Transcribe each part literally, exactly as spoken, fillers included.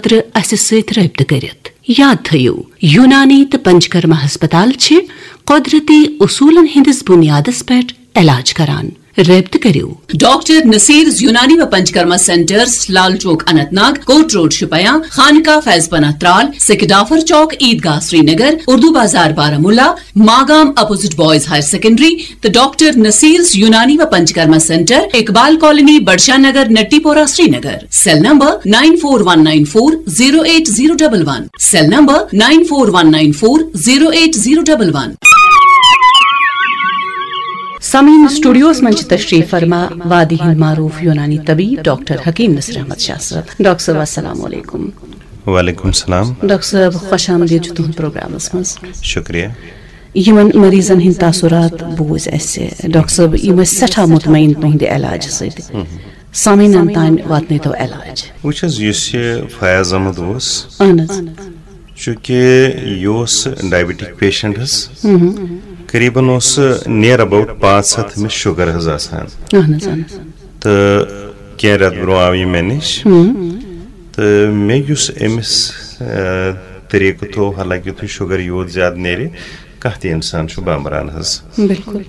خٲطرٕ اسہِ سۭتۍ رٲبطہٕ کٔرِتھ۔ یاد تھٲیِو، یونانی تہٕ پنچکرما ہسپتال چھِ قۄدرتی اصوٗلن ہٕنٛدِس بُنیادس پٮ۪ٹھ علاج کران۔ رٲبطہٕ کٔرِو۔ ڈاکٹر نصیرز یونانی و Panchakarma centres, Lal Chowk Anantnag, Kot road Shopian, Khanqah Faiz Panah Tral, Sekidafar Chowk, Idgah Srinagar, Urdu Bazar Baramulla, Magam opposite boys higher secondary, تہٕ ڈاکٹر نصیرز یونانی و Panchakarma centre, Iqbal colony, Budshah Nagar, Natipora, Srinagar. Cell number nine four one nine four zero eight zero double one. Cell number nine four one nine four zero eight zero double one. سامعین، studios منٛز چھِ تشریف فرما وادی ہند معروف یونانی طبیب ڈاکٹر حکیم نصیر احمد شاہ صٲب۔ ڈاکٹر صٲب، السلام علیکم۔ وعلیکم السلام۔ ڈاکٹر صٲب، خوش آمدید چھُ تُہُنٛد پروگرامس منٛز۔ شُکریہ۔ یِمن مریضن ہٕنٛدۍ تاثرات بوٗزۍ اَسہِ۔ ڈاکٹر صٲب، یِم ٲسۍ سٮ۪ٹھاہ مطمئن تُہٕنٛدِ علاجہٕ سۭتۍ۔ سامعیٖنن تام واتنٲیتو علاج۔ وٕچھ حظ، یُس یہِ فیاض احمد اوس، اہن حظ۔ چونکہ یہِ اوس ڈائبٹک پیشنٹ حظ۔ قریباً اوس near about پانٛژھ ہَتھ أمِس شُگر حظ آسان۔ اہن حظ، اہن حظ۔ تہٕ کینٛہہ رٮ۪تھ برونٛہہ آو یہِ مےٚ نِش۔ تہٕ مےٚ یُس أمِس، آ، طریٖقہٕ تھوٚو، حالانکہ یُتھُے شُگر یوٗت زیادٕ نیرِ، کانٛہہ تہِ اِنسان چھُ بامبران حظ۔ بِلکُل۔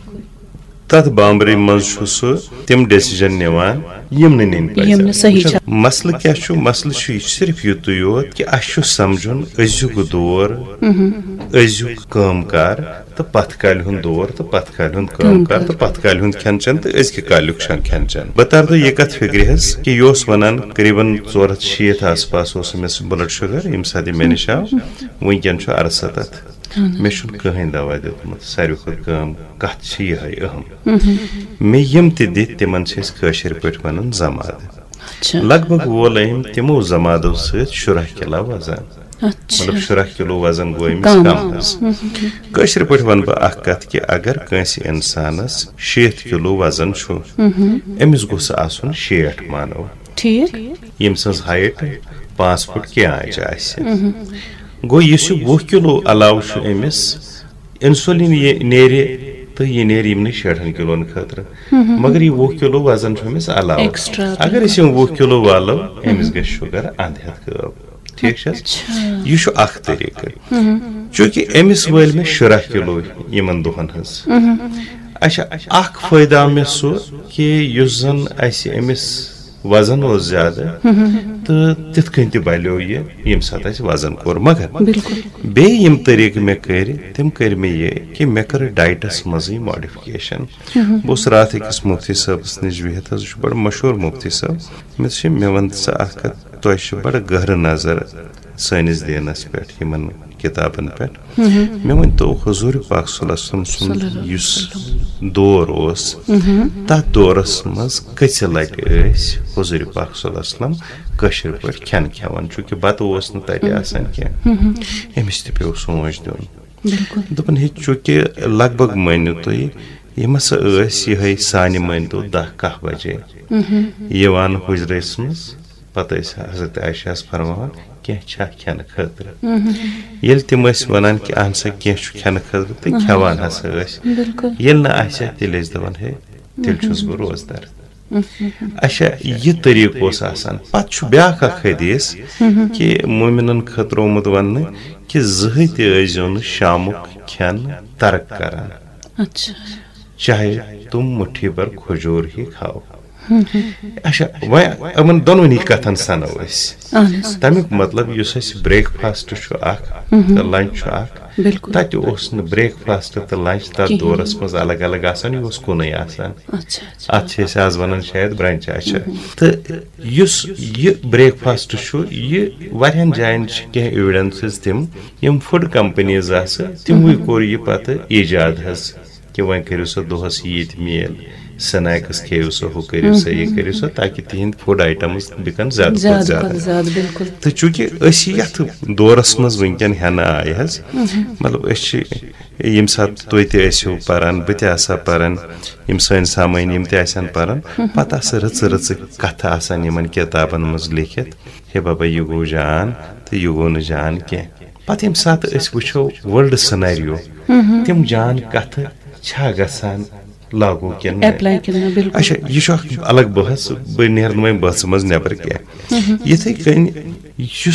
تَتھ بامبرِ منٛز چھُ سُہ تِم ڈیسیجن نِوان، یِم نہٕ نِنۍ پَزن۔ یِم نہٕ صحیح وٕچھ حظ، چھِ۔ مسلہٕ کیٛاہ چھُ؟ مسلہٕ چھُ یہِ صرف یُتُے یوت کہِ اَسہِ چھُ سَمجھُن أزیُک دور، أزیُک کٲم کار تہٕ پَتھ کالہِ ہُنٛد دور تہٕ پَتھ کالہِ ہُنٛد کٲم کار تہٕ پَتھ کالہِ ہُنٛد کھٮ۪ن چٮ۪ن تہٕ أزکہِ کالیُک چھَن کھٮ۪ن چٮ۪ن۔ بہٕ تَرٕ تہٕ یہِ کَتھ فِکرِ حظ کہِ یہِ اوس وَنان قریباً ژور ہَتھ شیٖتھ آس پاس اوس أمِس بٕلڈ شُگر، ییٚمہِ ساتہٕ یہِ مےٚ نِش آو۔ وٕنکٮ۪ن چھُ اَرسَتَتھ۔ مےٚ چھُنہٕ کٕہٕنۍ دوا دیُتمُت۔ ساروی کھۄتہٕ کٲم کَتھ چھِ یِہوٚے اہم۔ مےٚ یِم تہِ دِتۍ، تِمَن چھِ أسۍ کٲشِر پٲٹھۍ وَنان زَمادٕ۔ اچھا۔ لگ بگ وول أمۍ تِمو زَمادو سۭتۍ شُراہ کِلو وزن۔ اچھا۔ مطلب، شُراہ کِلو وزن گوٚو أمِس کم۔ کم حظ۔ کٲشِر پٲٹھۍ وَنہٕ بہٕ اَکھ کَتھ کہِ اگر کٲنٛسہِ اِنسانَس شیٖتھ کِلو وزن چھُ، أمِس گوٚژھ آسُن شیٹھ مانو۔ ٹھیٖک۔ ییٚمہِ سٕنٛز ہایٹ پانٛژھ فُٹ کینٛہہ آنچہِ آسہِ۔ گوٚو، یُس یہِ وُہ کِلو علاوٕ چھُ أمِس، انسولین یہِ نیرِ تہٕ یہِ نیرِ یِمنٕے شیٹھن کِلون خٲطرٕ۔ مگر یہِ وُہ کِلو وزن چھُ أمِس علاوٕ۔ ایکسٹرا۔ اگر أسۍ یِم وُہ کِلو والو، أمِس گژھِ شُگر اَنٛد ہٮ۪تھ غٲب۔ ٹھیٖک چھا؟ اچھا۔ یہِ چھُ اَکھ طریٖقہٕ۔ چوٗنٛکہِ أمِس وٲلۍ مےٚ شُراہ کِلو یِمن دۄہن ہٕنٛز۔ اچھا، اَکھ فٲیدٕ آو مےٚ سُہ کہِ یُس زن اَسہِ أمِس وزن اوس زیادٕ، تہٕ تِتھ کٔنۍ تہِ بلیو یہِ، ییٚمہِ ساتہٕ اَسہِ وزن کوٚر۔ مگر بیٚیہِ یِم طریٖقہٕ مےٚ کٔرۍ، تِم کٔرۍ مےٚ یہِ کہِ مےٚ کٔر ڈایٹس منٛزٕے ماڈفکیشن۔ بہٕ اوسُس راتھ أکِس مُفتی صٲبس نِش بِہِتھ حظ، سُہ چھُ بڑٕ مشہوٗر مُفتی صٲب۔ مےٚ دوٚپُس، مےٚ وَن ژٕ اَکھ کَتھ، تۄہہِ چھِ بڑٕ گہرٕ نظر سٲنِس دیٖنس پٮ۪ٹھ، یِمن کِتابن پٮ۪ٹھ۔ مےٚ ؤنۍ تو، حضوٗر پاک صلی اللہ علیہ وسلم سُنٛد یُس دور اوس، تَتھ دورس منٛز کٔژِ لٹہِ ٲسۍ حضوٗر پاک صلی اللہ علیہ وسلم کٲشِر پٲٹھۍ کھٮ۪ن کھٮ۪وان؟ چوٗنٛکہِ بتہٕ اوس نہٕ تَتہِ آسان کینٛہہ۔ أمِس تہِ پیوٚو سونٛچ دیُن۔ دوٚپُن، ہے، چوٗنٛکہِ لگ بگ مٲنِو تُہۍ، یِم ہسا ٲسۍ یِہوٚے سانہِ مٲنۍ تو دَہ کاہ بجے یِوان حُجرس منٛز۔ پتہٕ ٲسۍ حضرت عائشہ ہس فرماوان، کینٛہہ چھا کھٮ۪نہٕ خٲطرٕ؟ ییٚلہِ تِم ٲسۍ ونان کہِ اہن سا کینٛہہ چھُ کھٮ۪نہٕ خٲطرٕ، تہٕ کھٮ۪وان ہسا ٲسۍ۔ ییٚلہِ نہٕ آسہِ ہا، تیٚلہِ ٲسۍ دپان، ہے، تیٚلہِ چھُس بہٕ روزدار۔ اچھا، یہِ طریٖقہٕ اوس آسان۔ پتہٕ چھُ بیٛاکھ اکھ حدیث کہِ مومنن خٲطرٕ آمُت وننہٕ کہِ زٕہٕے تہِ ٲسۍزیو نہٕ شامُک کھٮ۪ن ترک کران۔ اچھا۔ چاہے تم مُٹھی بھر کھجور ہی کھاو۔ اچھا، وۄنۍ یِمن دۄنوٕنی کتھن سنو أسۍ۔ اہن حظ۔ تمیُک مطلب، یُس اسہِ بریک فاسٹ چھُ اکھ تہٕ لنچ چھُ اکھ، بِلکُل۔ تتہِ اوس نہٕ بریک فاسٹ تہٕ لنچ تتھ کِہیٖنۍ۔ دورس منٛز الگ الگ آسان، یہِ اوس کُنُے آسان۔ اچھا، اچھا۔ اتھ چھِ أسۍ آز ونان شاید برنچ۔ اچھا۔ تہٕ یُس یہِ بریک فاسٹ چھُ، یہِ واریاہن جاین چھِ کینٛہہ ایویڈنسز تِم، یِم فوڈ کمپنیز آسہٕ، تِموٕے کوٚر یہِ پتہٕ ایجاد حظ۔ کہِ وۄنۍ کٔرِو سا دۄہس ییٖتۍ میٖل، سنیکس کھیٚیِو سا، ہُہ کٔرِو سا، یہِ کٔرِو سا، تاکہِ تِہِنٛدۍ فوڈ آیٹمز بِکن زیادٕ کھۄتہٕ زیادٕ زیادٕ۔ کھۄتہٕ زیادٕ، بِلکُل۔ تہٕ چوٗنٛکہِ أسۍ یتھ دورس منٛز وٕنکیٚن ہٮ۪نہٕ آیہِ حظ، مطلب، أسۍ چھِ ییٚمہِ ساتہٕ تُہۍ تہِ ٲسِو پران، بہٕ تہِ آسہٕ ہا پران، یِم سٲنۍ سامعیٖن یِم تہِ آسن پران، پتہٕ آسہٕ رٕژٕ رٕژٕ کتھٕ آسان یِمن کِتابن منٛز لیکھِتھ، ہے بابا، یہِ گوٚو جان تہٕ یہِ گوٚو نہٕ جان کینٛہہ۔ پتہٕ ییٚمہِ ساتہٕ أسۍ وٕچھو ورلڈ سینیریو، تِم جان کتھٕ چھا گژھان لاگو کِنہٕ نہ۔ اپلائی کِنہٕ نہ، بِلکُل۔ اچھا، یہِ چھُ اکھ الگ بحث، بہٕ نیرٕ نہٕ وۄنۍ بحثہٕ منٛز نٮ۪بر کینٛہہ۔ یِتھے کٔنۍ یُس